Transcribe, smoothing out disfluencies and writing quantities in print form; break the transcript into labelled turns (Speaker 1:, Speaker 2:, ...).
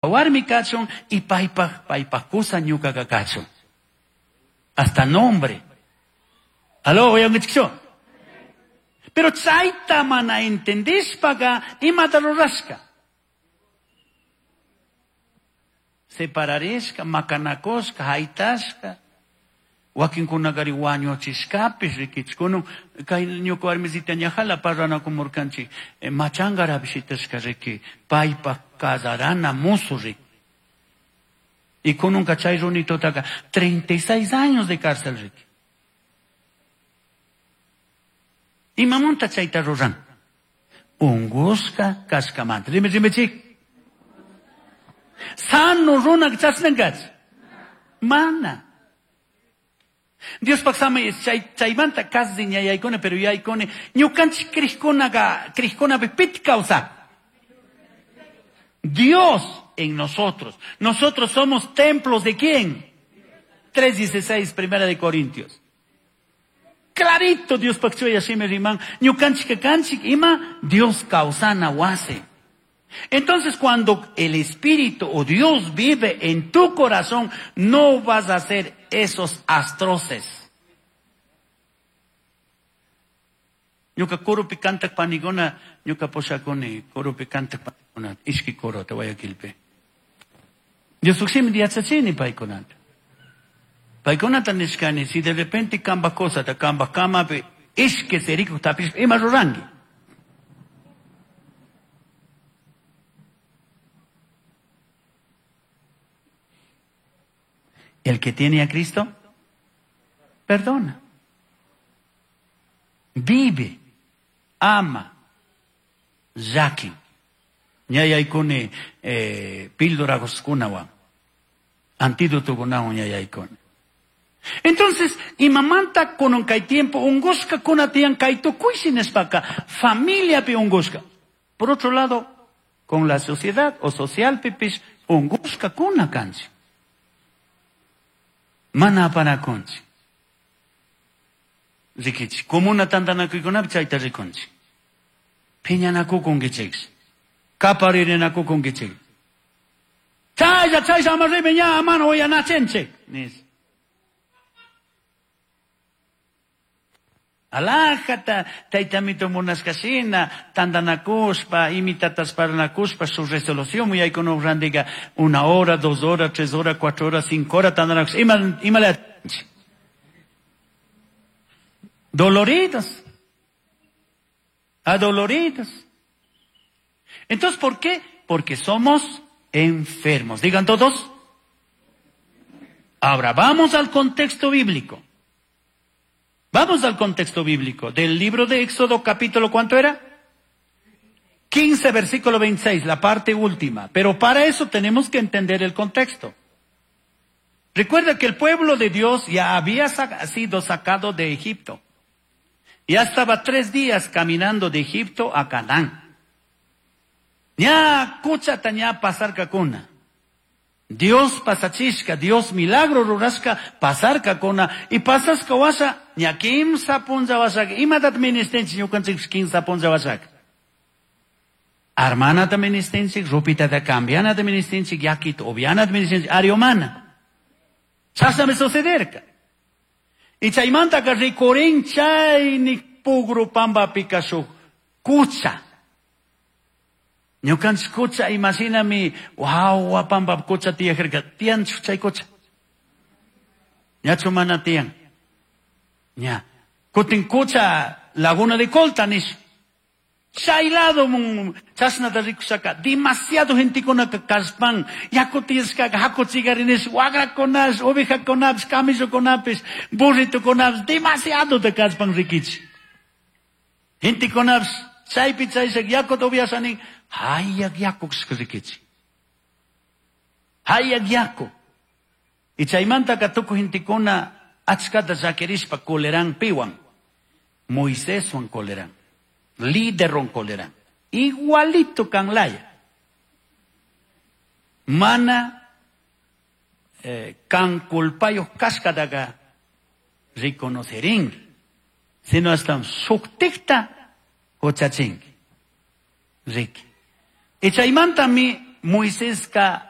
Speaker 1: Warmi kachun y paypaj paypaj kusa ñukaqa kachun. Hasta nombre. Aló, uyankichikchu? Pero chayta mana entendishpaqa imata rurashka? Separarishka, makanakushka, haytashka. Wakinkunakari wañuchishkapish rikichik. Kunan kay ñuka warmisita ñajala parlanakumurkanchik. Machangarapish shitashka riki. Paypaj casarana musu riki. Y kunanka chay runitutaqa 36 años de cárcel riki. Imamanta chayta ruran? Ungushka kashkamanta. Rimi rimichik. Sano runa chasnankach. Mana. Diospaj samay chay chaymanta casi ñayaykuna pero yaykuni ñukanchik crijkunaqa crijkunapi pit kawsak. Dios en nosotros. Nosotros somos templos de ¿quién? 3.16, Primera de Corintios. Clarito Dios chuya shimi riman, ñukanchik kanchik ima Dios kawsana wasi. Entonces cuando el Espíritu o Dios vive en tu corazón, no vas a hacer esos atroces. Ñuka coropi kantak paniguna, ñuka pushakuni, coropi kantak paniguna, ishki corota Guayaquilpi. Dios shimi yachachini paykunata. Paykunata nishkani, si de repente kamba cosata, kamba kamapi, ishki sirikuk tapishpa, ima ruranki. El que tiene a Cristo, perdona. Vive, ama, llakin. Ñayaykuni píldoraguskunawan, antídotokunawan ñayaykuni. Entonces, imamanta kunan kay tiempo ungushka kuna tiyan kay tukuyshi nishpaka, familiapi ungushka. Por otro lado, con la sociedad o social pipish ungushka kuna kanchik. Mana apanakunchik. Rikichik. Comuna tantanakuykunapi chayta rikunchik. Phiñanakukunkichik. Kaparirinakukunkichik. Chaylla chaylla ama rimi ña mana uyanachinchik. Nis. Alajata taytamito munashkashina tantanakushpa imitatas parlanakushpa su resolución yaykunuk randiga 1 hora, 2 horas, 3 horas, 4 horas, 5 horas tantanakushpa ima ima doloridos, adoloridos. Entonces, ¿por qué? Porque somos enfermos. Digan todos. Ahora vamos al contexto bíblico. Vamos al contexto bíblico del libro de Éxodo, capítulo, ¿cuánto era? 15, versículo 26, la parte última. Pero para eso tenemos que entender el contexto. Recuerda que el pueblo de Dios ya había sido sacado de Egipto. Ya estaba 3 días caminando de Egipto a Canaán. Ya kuchata ña pasar kakuna. Dios pasachishka, Dios milagro rurashka, pasar kakuna. Y pasasca washa, ña kimsa punlla washaka. Imatat ministenchik ñukanchik kimsa punlla washaka. Armanata ministenchik, rupitata cambianata ministenchik, yakita obvianata ministenchik, ariomana. Chashnami sucederka. Y chaymantaka rikurin chaynik pugru pampapika shuk kucha. Ñukanchik kucha imashinami wawa pampa kucha tiyajarka. Tiyanchu chay kucha. Ñachu mana tiyan. Ña. Kutin kucha laguna de Colta nish. Chay lado mun chashnata rikushaka demasiado gentekunaka kashpan yaku tiyashkaka hakuchigarinesh wagrakunash ovejakunapish camellokunapish burritokunapish demasiado te kashpan rikichi. Gentekunapish chaypi chayshak yakuta upiashanin hayak yaku rikichi. Hayak yaku. Y chaymantaka tukuy gentekuna achkata llakirishpa coleran piwan. Moiséswan coleran. Líder coleran. Igualito kanlaya. Mana kan culpayos kashkataka reconocerin. Sino hasta shuktikta huchachinki. Riki. Y chaymantami Moisesca.